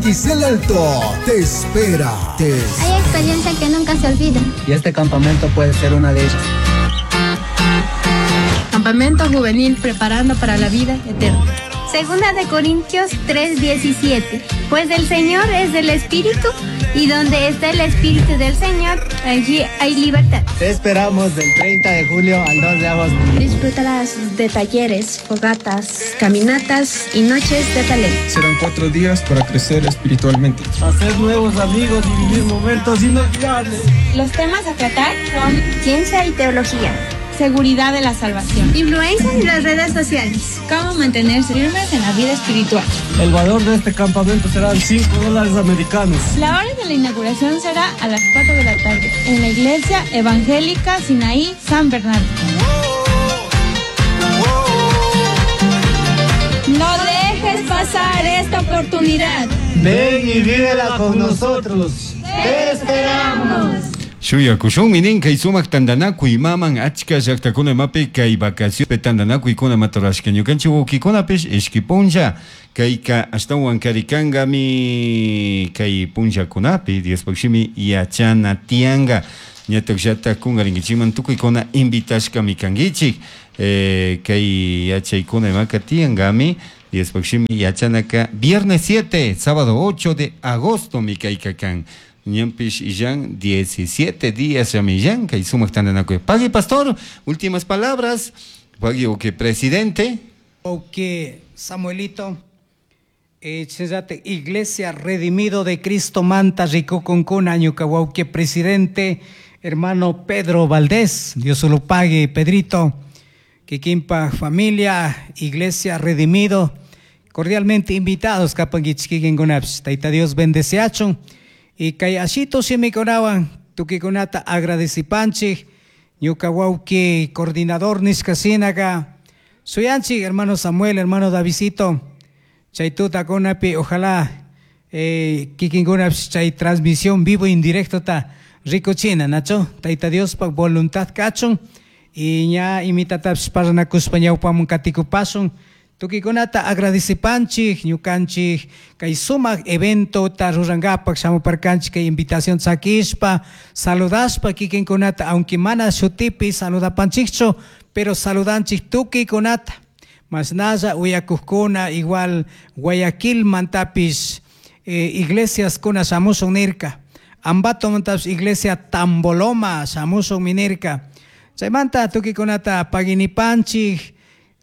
Giselle Alto te espera. Te Hay experiencia que nunca se olvida. Y este campamento puede ser una de ellas. Campamento juvenil preparando para la vida eterna. Segunda de Corintios 3:17. Pues el Señor es del Espíritu y donde está el Espíritu del Señor, allí hay libertad. Te esperamos del 30 de julio al 2 de agosto. Disfrutarás de talleres, fogatas, caminatas y noches de talento. Serán 4 días para crecer espiritualmente. Hacer nuevos amigos y vivir momentos inolvidables. Los temas a tratar son ciencia y teología, seguridad de la salvación, influencia en las redes sociales, cómo mantenerse firmes en la vida espiritual. El valor de este campamento serán $5 americanos. La hora de la inauguración será a las 4 de la tarde en la Iglesia Evangélica Sinaí San Bernardo. No dejes pasar esta oportunidad. Ven y vívela con nosotros. ¡Te esperamos! Shuyakushunmi nin kay sumak tantanakuy maman achka llaqtakuna imapi kay vacacionpi tantanakuykuna matarashka ñukanchik wawkikunapish ishki punlla kayka ashtawan karikankami kay punllakunapi Diospaq shimi yachana tiyanka ñatak llatak kunkarinkichikman tukuykuna invitashkami kankichik kay yachaykuna imaka tiyankami Diospaq shimi yachanaka viernes 7, sábado 8 de agosto mi kayka kan. Ñampish illan 17 días ya millán kay sumak tantanakuy. Pagui pastor, últimas palabras. Pagui o que presidente. O que Samuelito, Iglesia Redimido de Cristo Manta Rico Concuna, ñuka que presidente, hermano Pedro Valdés, Dios se lo pague, Pedrito, Kikimpa familia, Iglesia Redimido, cordialmente invitados, kapangichkikinkunapis, Taita Dios bendeciachon. Y kay ashito shimikunawan tukikunata agradecipanchik ñuka wawki coordinador nishkasinaga suyanchik hermano Samuel, hermano Davidito, chay tutakunapi ojalá kikinkunapish chay transmisión vivo indirecto ta rikuchina nacho Taita Diospak voluntad kachun y ña imitatapis parlanakuspa ñawpamun katikupasun. Tukikunata agradecipanchik, ñukanchik, kay sumak evento ta rurangapak shamuparkanchik kay invitación sakishpa, saludashpa kikinkunata, aunque mana shutipi saludapanchikchu, pero saludanchik tukikunata. Masnalla uyakuqkuna igual Guayaquil mantapis iglesias kuna shamushun nirka, Ambato mantapis iglesia Tamboloma shamushun minirka. Chaymanta tukikunata paginipanchik,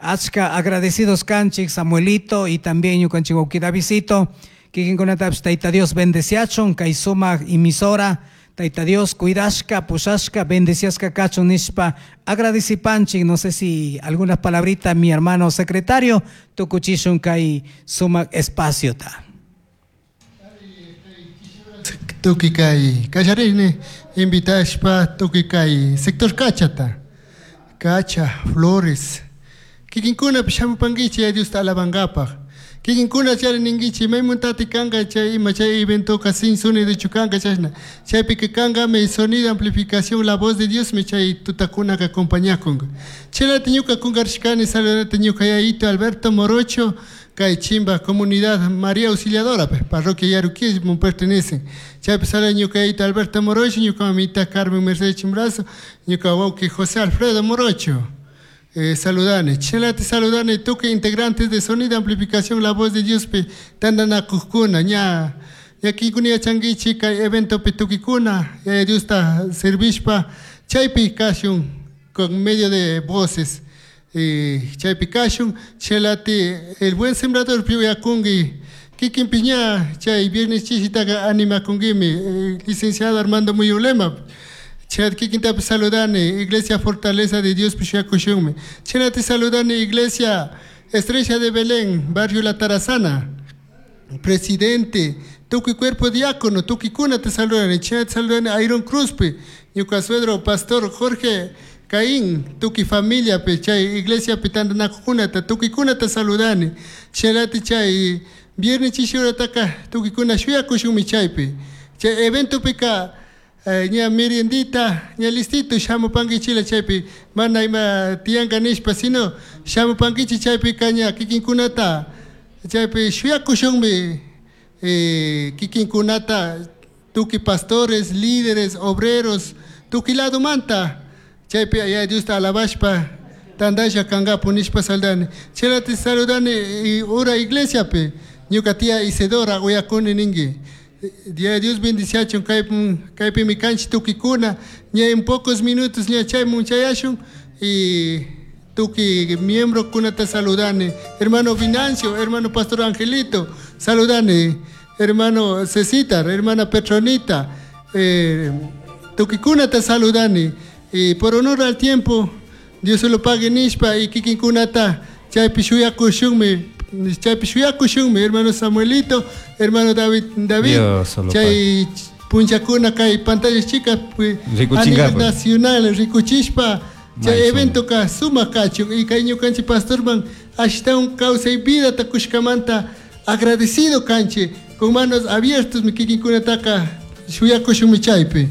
achka agradecidos kanchik Samuelito y también ñukanchik wawqi Davidito, kikinkunatapis Taita Dios bendeciachun kay sumak emisora, Taita Dios cuidashka, pushashka, bendeciashka kachun nishpa agradecipanchik. No sé si algunas palabritas mi hermano secretario tukuchishun kay sumak espacio ta. Tuki kay kallarini invitashpa tuki kay sector Cachata, Cacha, Flores. Kikinkuna shamupankichi Diosta alabankapaj. Kikinkuna charininkichi maymuntati kanka chay ima chay eventoka sin sonido chukanka chashna. Chaypika kankami sonido amplificación la voz de Dios me chay tutakunaka acompañakunka. Chelati ñuka kunkarishkani saludante ñuka yayito Alberto Morocho kay Chimba comunidad María Auxiliadora parroquia Yaruquí me pertenecen. Chaypi sale ñuka yayito Alberto Morocho, ñuka mamita Carmen Mercedes Chimbrazo, ñuka wawqi José Alfredo Morocho. Saludane, chelate saludane, toque integrantes de sonido amplificación la voz de Dios pe tandanakuqkuna ña ña yachankichik kay evento pe tukikuna ya Dios ta servishpa chaypi kashun con medio de voces chaypi kashun chelate el buen sembrador piuyakunki kikin piña chay viernes chishitaqa animakunkimi licenciado Armando Muyulema. Chat kikintapi saludane, Iglesia Fortaleza de Dios Pishakushunmi. Chelate saludane, Iglesia Estrella de Belén, Barrio La Tarazana. Presidente, tuki cuerpo diácono, tuki kuna te saludane. Chelate saludane, Iron Cruzpi, ñuka suegro, Pastor Jorge Caín, tuki familia pe, chay Iglesia pitandanakukunata, tuki kuna te saludane. Chelate chay, viernes chishurataka, tuki kuna shuyakushunmi chaypi. Chay evento pika, ña meriendita, ña listito, shamupankichila chaypi, mana ima tiyanka nishpa, sino shamupankichi chaypi kaña kikinkunata, chaypi shuyakushunmi Kikinkunata tukuy pastores, líderes, obreros, tukuy ladomanta chaypi Yaya Diosta alabashpa tandalla kankapu nishpa saludani. Chayrati saludani ura iglesiapi ñuka tía Isidora uyakuni ninki. Yaya Dios bendiciachun kaypimi kanchik tukikuna ña en pocos minutos ña chaymun chayashun y tukuy miembrokunata saludani. Hermano Venancio, hermano Pastor Angelito, saludani. Hermano Cecitar, hermana Petronita, tukikunata saludani. Y por honor al tiempo, Dios se lo pague nishpa y kikinkunata chaypi shuyakushunmi, chaypi shuyakushunmi, hermano Samuelito, hermano David, chay punchakuna kay pantalla chica a nivel nacional rikuchishpa chay evento ka sumak kachun y kay ñukanchik pastorman ashtawan kawsay vidata kushkamanta agradecido kanchik con manos abiertas mi kikinkunataka shuyakushunmi chaypi.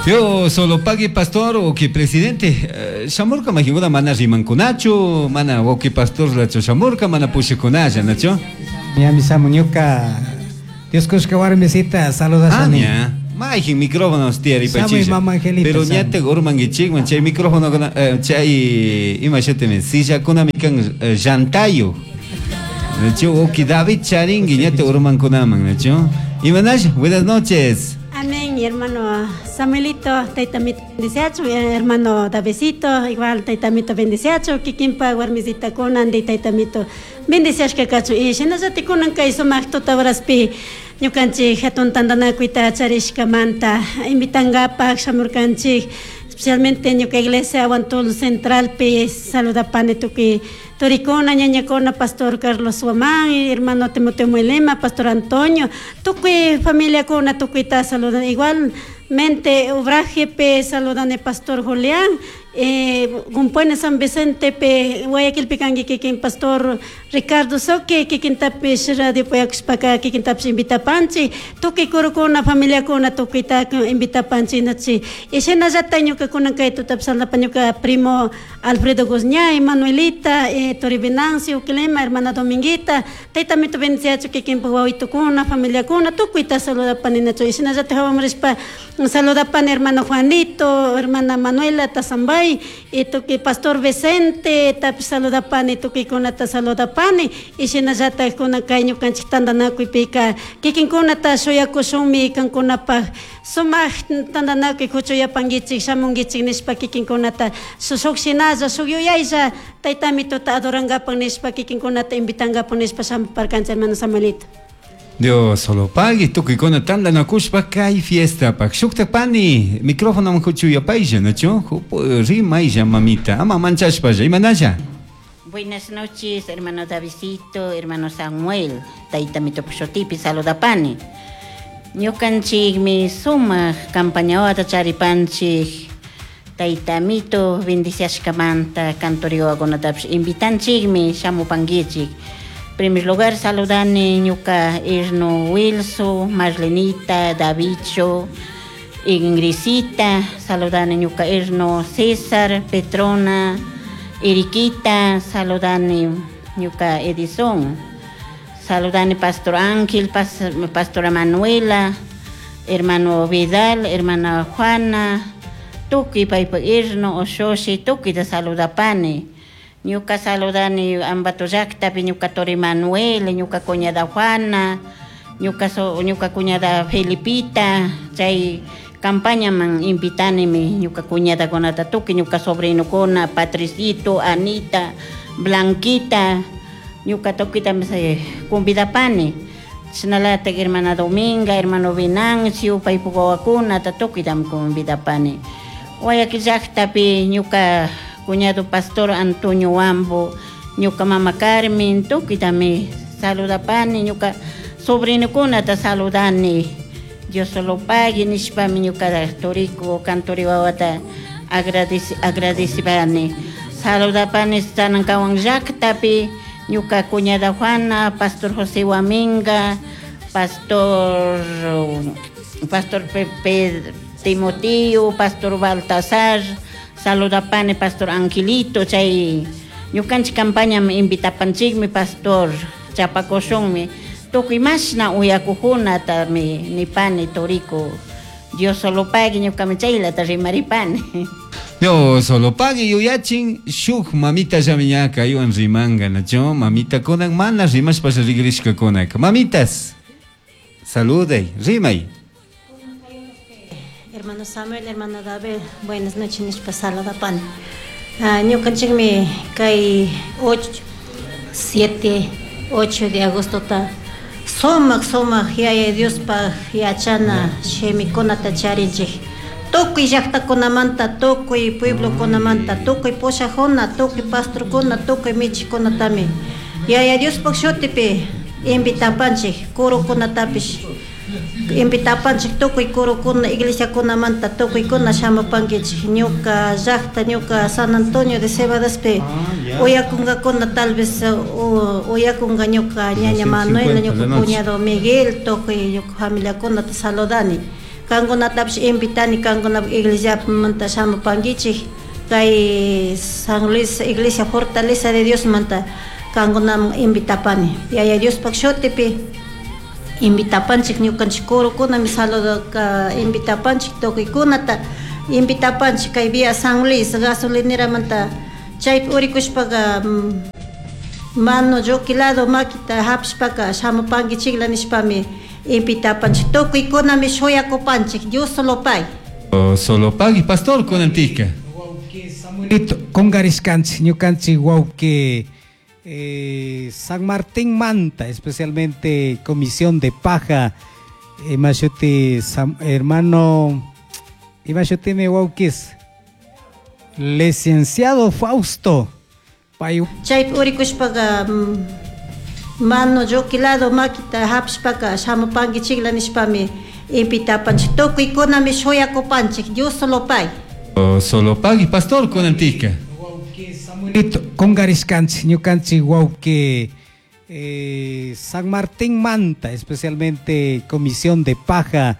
Yo solo pague pastor o que presidente shamurka majinguna mana rimankunachu mana o que pastor lacho shamurka mana pushikunalla nacho. Mi samuñuka Dios kushka warmisita saludashani. Majin micrófono tiyari pachisha. Pero ñate urmankichikman chay micrófono chay ima shutimi sillakuna kan llantayo. Nacho o que David charingi ñate urmankunaman nacho. Imanash, buenas noches. Amén, mi hermano Samuelito, taitamito bendiciacho, hermano Davidcito, igual taitamito bendiciacho, kikinpa warmisita kunan de taitamito bendiciashka kachu. Y shinallati kunan kay sumaq tutawaraspi ñukanchik hatun tantanakuyta charishkamanta invitankapaq shamurkanchik, especialmente ñuka iglesia Aguantul Centralpi saludapani tukuy turikuna, ñañakuna, pastor Carlos Guamán, hermano Timoteo Muelema, pastor Antonio, tukuy familiakuna tukuyta saludan igualmente obrajepe saludan el pastor Julián, Gumpuene San Vicente pe Guayaquil pikangi kikin pastor Ricardo Soque kikin tapish radio puyakushpaka kikin tapish invitapanchi tukuy kurukuna familiakuna tukuyta invitapanchi nachi y shinallata ñukakuna kay tutapi saludapa ñuka primo Alfredo Guzñay, Manuelita, Tori Venancio, Uquilema, hermana Dominguita, taytamito bendiciachu kikinpa wawitukuna familiakuna tukuyta saludapani nachu y shinallata hawamarishpa saludapani hermano Juanito, hermana Manuela Tazambay, y tukuy pastor Vicente tapi saludapani tukuykunata saludapani y shinallata kuna kay ñukanchik tantanakuypika kikinkunata shuyakushunmi kankunapaq sumaq tantanakuy huchuyapankichik shamunkichik nishpa kikinkunata shuk shinalla shuk yuyaylla taytamituta adorankapak nishpa kikinkunata invitankapak nishpa shamuparkanchik hermano Samuelito. Dios solo pague tukuykuna tantanakushpa kay fiestapaq shuktapani micrófono huchuyapaylla nacho rimaylla mamita ama manchashpalla imanalla. Buenas noches, hermano Davidcito, hermano Samuel, taytamito pushutipi saludapani. Ñukanchikmi sumaq campañawata charipanchik taytamito bendiciashkamanta cantoriwakunatapish invitanchikmi shamupankichik. Primer lugar saludani ñuka Erno Wilson, Marlenita, Davicho, Ingrisita, saludani ñuka Erno César, Petrona, Eriquita, saludani ñuka Edison, saludani Pastor Ángel, Pastora Manuela, hermano Vidal, hermana Juana, tukuy paypa Erno, Oshoshi, tukuyta saludapani. Ñuka saludani Ambato llaqtapi ñuka Tori Manuel, ñuka cuñada Juana, ñuka cuñada Felipita, chay campañaman invitanimi ñuka cuñadakunata tukuy ñuka sobrinokuna, Patricito, Anita, Blanquita, ñuka tukuytami convidapani. Chashnalatak hermana Dominga, hermano Venancio, paypuk wawakunata tukuytami convidapani. Guayaquil llaqtapi ñuka cuñado pastor Antonio Wambo, ñuka mama Carmen, tukuytami saludapani, ñuka sobrinokunata saludani. Dios solo pague nishpami ñuka turiku cantori wawata agradecipani. Saludapani Sanankawan llaqtapi ñuka cuñada Juana, pastor José Huaminga, pastor Pepe Timoteo, pastor Baltasar, saludapani pastor Angelito, chay Ñukanchik campañam invitapanchikmi pastor chapakushunmi tukuy mashna uyakukunatami nipani turiku. Dios solo pague ñukami chaylata rimaripani. Dios solo pague yuyachin shuk mamita llami kaywan rimanga nacho mamita kunan mana rimashpa rigrishkakunaka. Mamitas, saluday, rimay. Hermano Samuel, hermano David, buenas noches, nishpa saludapani. Ñukanchikmi kay 8, 7, 8 de agosto ta sumak sumak yaya Diospaj yachana shimikunata charinchik. Tukuy llaqtakunamanta, tukuy pueblokunamanta, tukuy pushakuna, tukuy pastorkuna, tukuy michikunatami yaya Diospaj shutipi invitapanchik, kurukunatapish invitapanchik tukuy kurukuna iglesiakunamanta tukuykuna shamupankichik. Ñuka llaqta, ñuka San Antonio de Cebadaspi uyakunkakuna tal vez uyakunka ñuka ñaña Manuela, ñuka cuñado Miguel, tukuy ñuka familiakunata saludani. Kankunatapish invitani kankunapaj iglesiamanta shamupankichik kay San Luis Iglesia Fortaleza de Diosmanta kankunaman invitapani. Yaya Diospaj shutipi invitapanchik ñukanchik kurukunami saludo invitapanchik tukuykunata invitapanchik kay vía San Luis gasolineramanta chaypi urikushpaka mano lluqui lado makita hapishpaka shamupankichikla nishpami invitapanchik tukuykunami shuyakupanchik. Dios solo pay. Solo pagui pastor kunantika. Samuelito, kungarishkanchik ñukanchik wawqi San Martín Manta, especialmente Comisión de Paja, imashuti hermano, imashuti mi wawkis, licenciado Fausto. Chaypi urikushpaka mano lluqui lado makita hapishpaka shamupankichikla nishpami invitapanchik tukuykunami shuyakupanchik. Dios solo pay. Solo pagui pastor kunantika. Samuelito, kungarishkanchik ñukanchik wawqi San Martín Manta, especialmente Comisión de Paja,